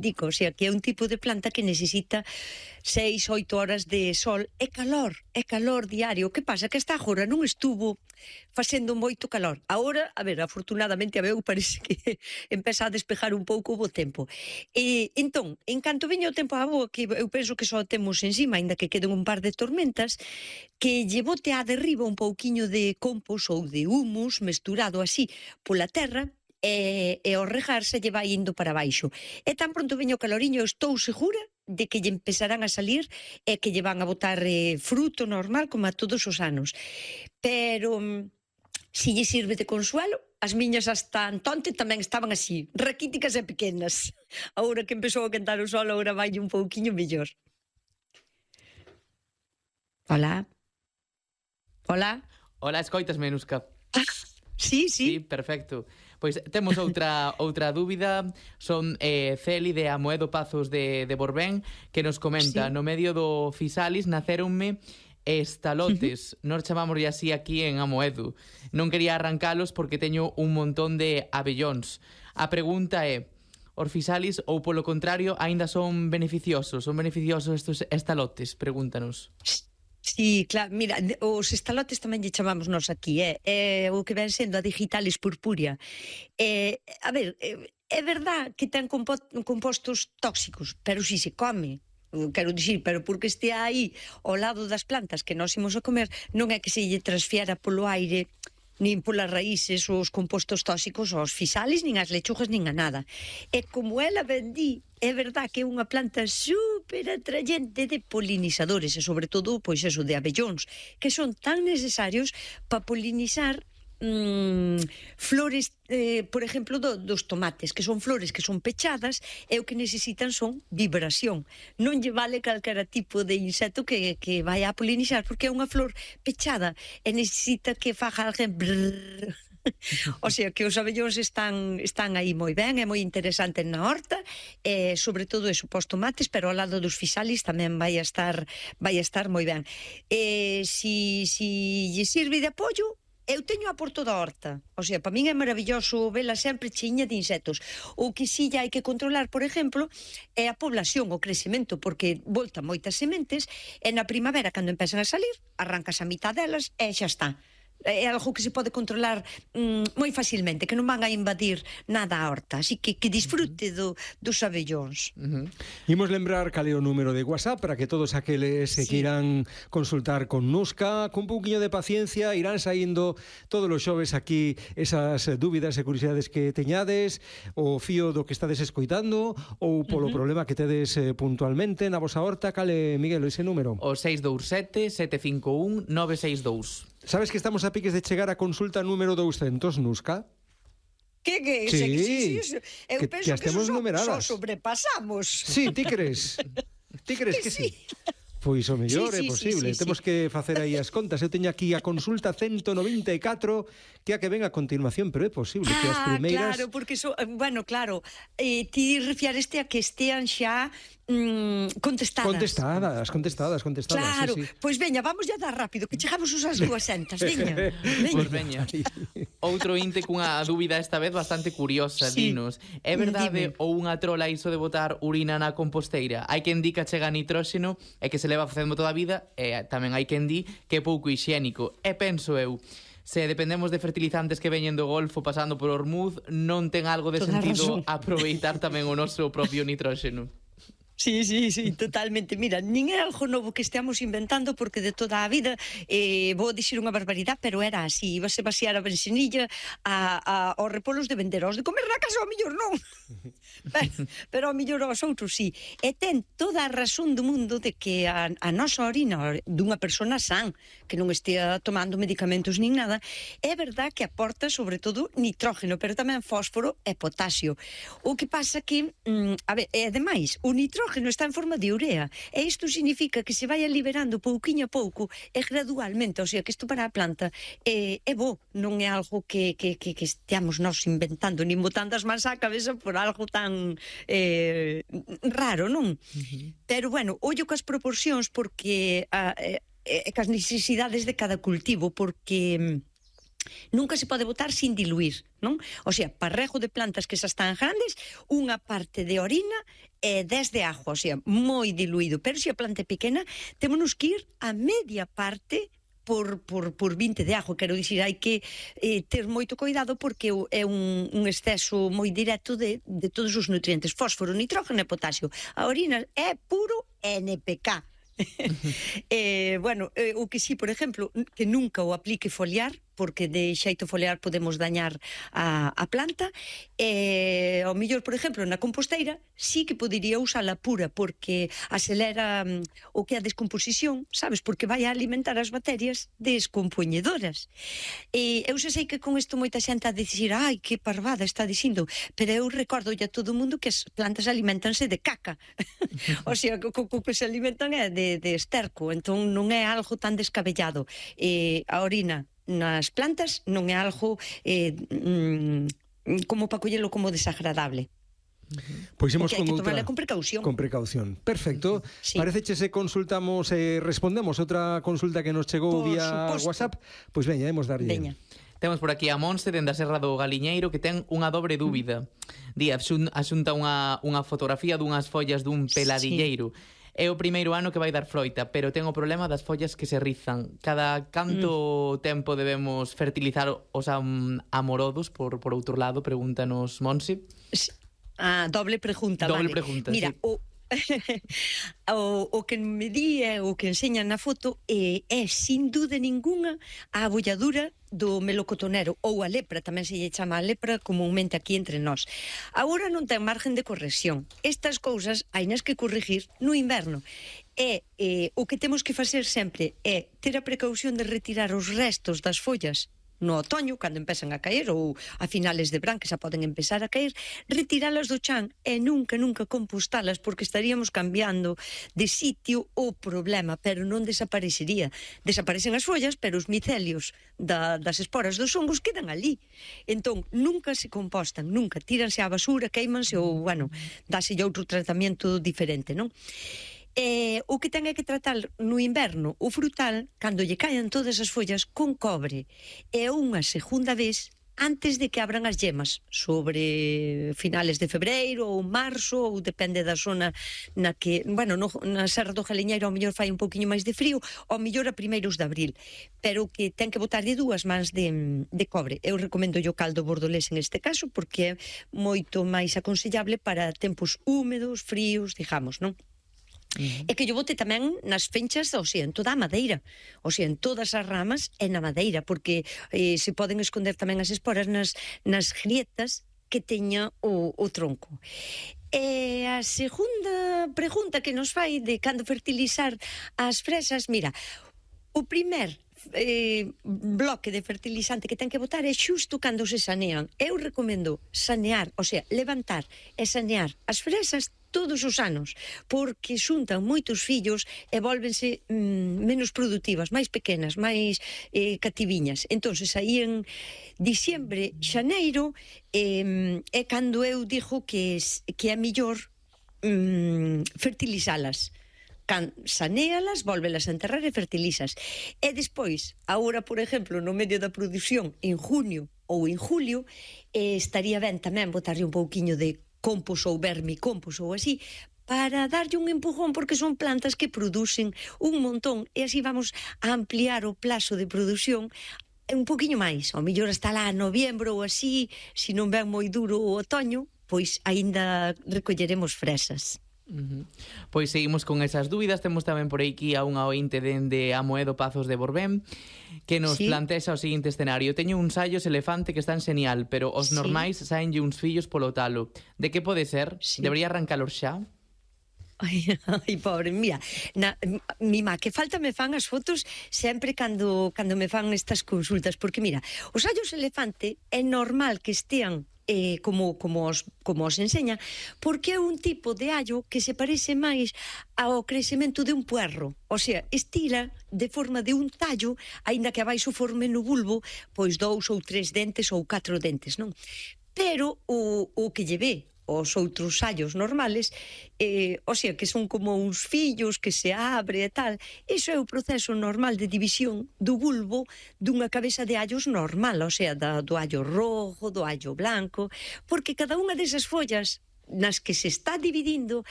o sea, que é un tipo de planta que necesita 6-8 horas de sol é calor diario. O que pasa? Que esta agora non estuvo facendo moito calor. Agora, a ver, afortunadamente a meu parece que empeza a despejar un pouco o tempo. E entón, en canto veña o tempo á boa, que eu penso que só temos encima, aínda que queden un par de tormentas, que lle bote a derriba un pouquiño de compost ou de humus mesturado así pola terra, e ao regar se lle vai indo para baixo. E tan pronto veño o caloriño, estou segura de que lle empezarán a salir e que lle van a botar fruto normal como a todos os anos. Pero si lle sirve de consuelo, as miñas hasta antonte tamén estaban así, raquíticas e pequenas. Agora que empezou a quentar o sol, agora vai un pouquiño mellor. Hola. Hola. Hola, escoitasme, Nuska? Sí. Sí, perfecto. Pois temos outra dúbida. Son Celi de Amoedo Pazos de Borbén, que nos comenta, no medio do Fisalis nacéronme estalotes, nós chamámoslle así aquí en Amoedo. Non quería arrancalos porque teño un montón de abellóns. A pregunta é, os Fisalis ou polo contrario aínda son beneficiosos? Son beneficiosos estes estalotes? Pregúntanos. Sí, claro, mira, os estalotes tamén lle chamamos nós aquí, o que ven sendo a digitalis purpúrea. A ver, é verdad que ten compostos tóxicos, pero si se come, quero dicir, pero porque estea aí ao lado das plantas que nós imos a comer, non é que se lle transfiera polo aire nin polas raíces os compostos tóxicos aos Fisalis, nin as lechugas, nin a nada. E como ela vendí, é verdad que é unha planta super atrayente de polinizadores e sobre todo, pois eso, de abellóns, que son tan necesarios para polinizar flores, por exemplo, dos tomates, que son flores que son pechadas e o que necesitan son vibración. Non lle vale calquera tipo de insecto que vai a polinizar, porque é unha flor pechada e necesita que faga alguén brrr. O sea, que os abellóns están aí moi ben, é moi interesante na horta, sobre todo eso, pos tomates, pero ao lado dos Fisalis tamén vai a estar moi ben. Si lle sirve de apoio, eu teño a por toda a horta, o sea, para min é maravilloso vela sempre chiña de insectos. O que si hai que controlar, por exemplo, é a población, o crecemento, porque volta moitas sementes e na primavera, cando empezan a salir, arrancas a mitad delas e xa está. É algo que se pode controlar moi facilmente, que non van a invadir nada a horta, así que disfrute dos abellóns. Imos lembrar cal é o número de WhatsApp para que todos aqueles que queiran consultar con Nuska, con un pouquiño de paciencia, irán saindo todos os xoves aquí esas dúbidas e curiosidades que teñades, o fío do que estades escoitando ou polo problema que tedes puntualmente na vosa horta. Cal é, Miguel, ese número? O 627-751-962. Sabes que estamos a piques de chegar a consulta número 200, Nuska? Que? Sí, eu penso que estemos numeradas. só sobrepasamos. Sí, ti crees? Ti crees que sí? Pois o mellor é posible. Temos que facer aí as contas. Eu teño aquí a consulta 194, que é a que ven a continuación, pero é posible que as primeiras... Claro, porque bueno, claro, ti refiareste a que estean xa contestadas. Contestadas. Claro, sí. Pois veña, vamos ya dar rápido, que chegamos usas 200, veña. Pois veña. Outro inte cunha dúbida esta vez bastante curiosa, dinos. É verdade ou unha trola iso de botar urina na composteira? Hai quen di que chega nitróxeno e que se leva facendo toda a vida, e tamén hai quen di que é pouco hixiénico. E penso eu, se dependemos de fertilizantes que veñen do Golfo pasando por Ormuz, non ten algo de sentido aproveitar tamén o noso propio nitróxeno. Sí, totalmente. Mira, nin é algo novo que esteamos inventando, porque de toda a vida, vou dicir unha barbaridade, pero era así, ibase vaciar a bensinilla aos repolos de vender, aos de comer na casa ao millor non, pero ao millor aos outros sí. E ten toda a razón do mundo de que a nosa orina dunha persona san, que non estea tomando medicamentos nin nada, é verdad que aporta sobre todo nitrógeno, pero tamén fósforo e potasio. O que pasa que, a ver, e ademais, o nitrógeno está en forma de urea, e isto significa que se vai liberando pouquiño a pouco e gradualmente, o sea, que isto para a planta é bo, non é algo que esteamos nós inventando, nin botando as mans á cabeza por algo tan raro, non? Pero, bueno, ollo cas proporcións, porque cas necesidades de cada cultivo, porque nunca se pode botar sin diluir, non? O sea, para rego de plantas que xa están grandes, unha parte de orina e 10 de agua, o sea, moi diluído. Pero se a planta é pequena, temos que ir a media parte por 20 de agua. Quero dicir, hai que ter moito cuidado porque é un exceso moi directo de todos os nutrientes, fósforo, nitrógeno e potasio. A orina é puro NPK. O que sí, por exemplo, que nunca o aplique foliar, porque de xeito foliar podemos dañar a planta. Ao mellor, por exemplo, na composteira sí que podería usala pura, porque acelera o que é a descomposición, sabes? Porque vai a alimentar as bacterias descompoñedoras. Eu xa sei que con isto moita xente a dicir, ai, que parvada está dicindo, pero eu recordo a todo o mundo que as plantas alimentanse de caca. O sea, o que se alimentan é de esterco, entón non é algo tan descabellado. A orina nas plantas non é algo como para collelo como desagradable. Pois imos con outra con precaución. Con precaución. Perfecto. Sí. Pareceche se consultamos respondemos outra consulta que nos chegou Por vía suposto. WhatsApp. Pois veña, imos darlle. Veña. Temos por aquí a Monse dende a Serra do Galiñeiro que ten unha dobre dúbida. Di, asunta unha fotografía dunhas follas dun peladilleiro. É o primeiro ano que vai dar froita, pero ten o problema das follas que se rizan. Cada canto tempo debemos fertilizar os amorodos, por outro lado, pregúntanos Monse. Doble pregunta, Doble vale. pregunta, Mira, sí. o que me di o que enseñan na foto é sin duda ninguna a abolladura do melocotonero ou a lepra, tamén se lle chama a lepra comúnmente aquí entre nós. Agora non ten margen de corrección. Estas cousas hainas que corregir no inverno. O que temos que facer sempre é ter a precaución de retirar os restos das follas no otoño, cando empezan a caer, ou a finales de verán, que xa poden empezar a caer, retiralas do chan e nunca compostalas, porque estaríamos cambiando de sitio o problema, pero non desaparecería. Desaparecen as follas, pero os micelios das esporas dos hongos quedan ali. Entón, nunca se compostan, nunca. Tíranse á basura, queimanse ou, dáse outro tratamento diferente, non? O que ten é que tratar no inverno o frutal, cando lle caen todas as follas, con cobre. E unha segunda vez antes de que abran as yemas, sobre finales de febreiro ou marzo, ou depende da zona na que, na Serra do Galiñeiro ao mellor fai un poquinho máis de frío, ao mellor a primeiros de abril, pero que ten que botar de 2 mans de cobre. Eu recomendo o caldo bordolés en este caso, porque é moito máis aconsellable para tempos húmedos, fríos, digamos, non? E que yo bote tamén nas fenchas, o sea, en toda a madeira, o sea, en todas as ramas e na madeira, porque se poden esconder tamén as esporas nas grietas que teña o tronco. E a segunda pregunta que nos fai de cando fertilizar as fresas, mira, o primer bloque de fertilizante que ten que botar é xusto cando se sanean. Eu recomendo sanear, o sea, levantar e sanear as fresas todos os anos, porque xuntan moitos fillos e volvense menos productivas, máis pequenas, máis cativiñas. Entonces, aí en diciembre, xaneiro, é cando eu digo que é mellor fertilizalas. Sanéalas, volvelas a enterrar e fertilizas. E despois, agora, por exemplo, no medio da produción, en junio ou en julio, estaría ben tamén botarlle un pouquiño de compost ou vermicompost ou así, para darlle un empujón, porque son plantas que producen un montón, e así vamos a ampliar o plazo de produción un poquinho máis, ao mellor hasta lá noviembro ou así, se non ven moi duro o otoño, pois aínda recolleremos fresas. Pois seguimos con esas dúbidas. Temos tamén por aquí a unha ointe dende Amoedo Pazos de Borbén que nos plantea o seguinte escenario: teño uns sallos elefante que están xenial, pero os normais saenlle uns fillos polo talo. De que pode ser? Debería arrancalos xa? Ai, pobre, mira, mi má, que falta me fan as fotos sempre cando me fan estas consultas, porque mira, os sallos elefante é normal que estean como os enseña, porque é un tipo de allo que se parece máis ao crecemento de un puerro, o sea, estira de forma de un tallo, aínda que abaixo forme no bulbo pois 2 ou 3 dentes ou 4 dentes, non? Pero o que lle ve os outros allos normales, o sea, que son como uns fillos que se abre e tal. Iso é o proceso normal de división do bulbo dunha cabeza de allos normal, o sea, do allo rojo, do allo blanco, porque cada unha desas follas nas que se está dividindo